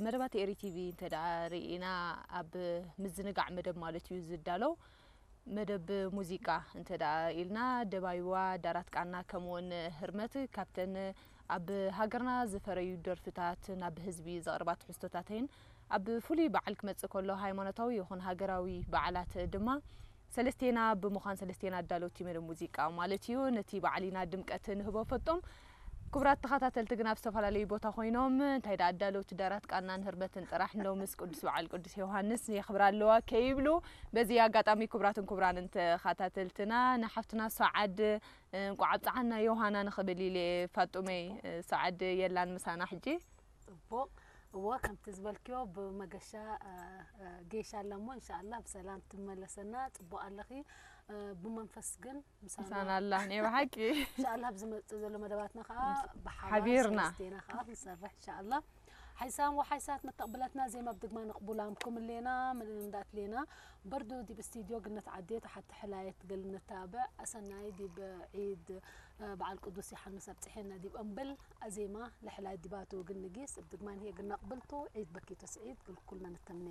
መደባት ኤሪ ቲቪ እንተ ደኣ ርኢና፣ ኣብ ምዝንጋዕ መደብ ማለት እዩ ዝዳለው። መደብ ሙዚቃ እንተ ደኣ ኢልና፣ ደባይዋ፣ ዳራት ቃና፣ ከምኡውን ህርመት ካብተን ኣብ ሃገርና ዝፈረዩ ደርፍታት፣ ናብ ህዝቢ ዘቕርባ ትሕዝቶታተይን ኣብ ፍሉይ በዓል ክመጽእ ከሎ፣ ሃይማኖታዊ ይኹን ሃገራዊ በዓላት ድማ ሰለስቴና ብምዃን፣ ሰለስቴና ኣዳለውቲ መደብ ሙዚቃ ማለት እዩ፣ ነቲ በዓል ኢና ድምቀት ንህቦ። ፈጦም ክቡራት ተኸታተልቲ ግን ኣብ ዝተፈላለዩ ቦታ ኮይኖም እንታይ ደኣ ኣዳለውቲ ዳራት ቃናን ህርመትን ጥራሕ እንዶ ምስ ቅዱስ በዓል ቅዱስ ዮሃንስ የኽብራ ኣለዋ ከይብሉ፣ በዚ ኣጋጣሚ ክቡራትን ክቡራንን ተኸታተልትና ንሓፍትና ሰዓድ እንቋዕ ኣብጽሓና ዮሃና ንኽብል ኢለ። ፋጡመይ፣ ሰዓድ የላን ምሳና ሕጂ። ጽቡቕ። እወ፣ ከምቲ ዝበልክዮ ብመገሻ፣ እ፣ እ፣ ጌሻ ኣላ እሞ፣ እንሻኣላ ብሰላም ትመለሰና። ጽቡቕ ኣለኺ። እ፣ ብመንፈስ ግን ምሳና ምሳና ኣላ፣ ናይ ብሓቂ። እንሻኣላ ኣብ ዝመጽእ ዘሎ መደባትና ከኣ ብሓባር ሓቢርና። ሰለስቴና ከኣ ክንሰርሕ እንሻኣላ። ሓይሳም ወሓይሳት መተቕብለትና ዜማ ብድግማ ነቕቡላም ኩምሌና፣ ምን እንዳትሌና። በርዱ ዲብ ስቱድዮ ግነት ዓዴ ተሓቲ ሕላየት ገል ነታብዕ። ኣሰናይ ዲብ ዒድ፣ እ፣ በዓል ቅዱስ ዮሓንስ ኣብጽሔና ዲብ እምብል ኣዜማ ለሕላይ ዲባቱ ግን ንጊስ እብ ድግማን ሄ ግን ነቕብልቱ ዒድ በኪቶ ስዒድ ግልኩልና ነተምኔ።